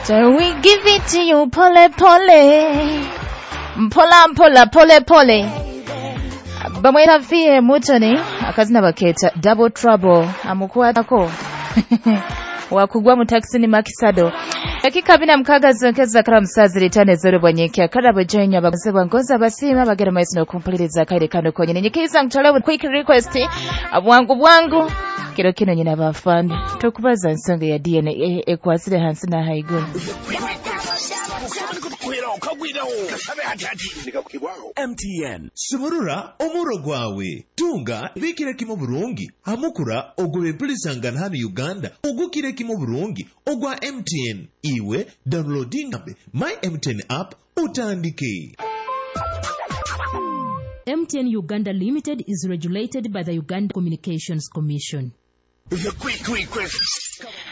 So we give it to you pole pole, mpola mpola, pole pole. Bamweta Fie Mutoni, akazina baketa Double Trouble, amukwatako wakugwa mu taxi ni makisado. Dakika 46 zonkeza kara musazi litane zero bwanyekya karabo join abagozi bwangoza basiima bagera maiso n'okumpuliriza kaire kano konyene. Nyikiriza nkutwale quick request bwangu bwangu kiro kino nyina bafande tokubaza nsonga ya DNA ekwasire hansi na haiguru. MTN sumurura omuro gwawe, tunga bikire kimu burungi hamukura ogwe empulisangana hano Uganda ogukire kimu burungi ogwa MTN. Iwe downloading my MTN app utandike. MTN Uganda Limited is regulated by the Uganda Communications Commission.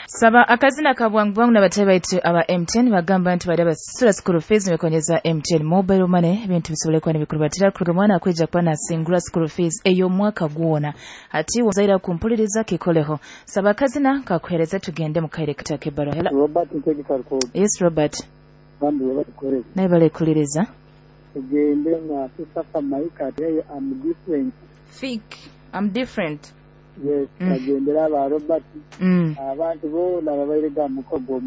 Saba akazina ka bwangu bwangu n'abatali baitu aba MTN bagamba nti bali abasasula school fees nebakonyeza MTN mobile money, ebintu bisobole kuba nibikurubatira kuruga omwana akwija kuba nasingura school fees ey'omwaka gwona. Ati wazaira kumpuliriza kikoleho. Saba akazina kakuhereza tugende mu kaire kataka ebbarwa. Hello. Robert Ntegeka Rukogo. Yes, Robert. Bambi webatukoreza. Naye balekuliriza. Tugende nga Sisafa Maika ati hey, I'm different. Fik, I'm different. Yes, kagendera aba Robert. Abantu boona babaire ga mukogo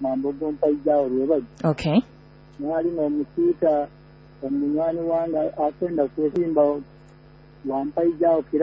mambogo mpaijawo lwebaji. Okay. Mwali n'omusiita omunywani wange akwenda kwesimba wampaijawo kira.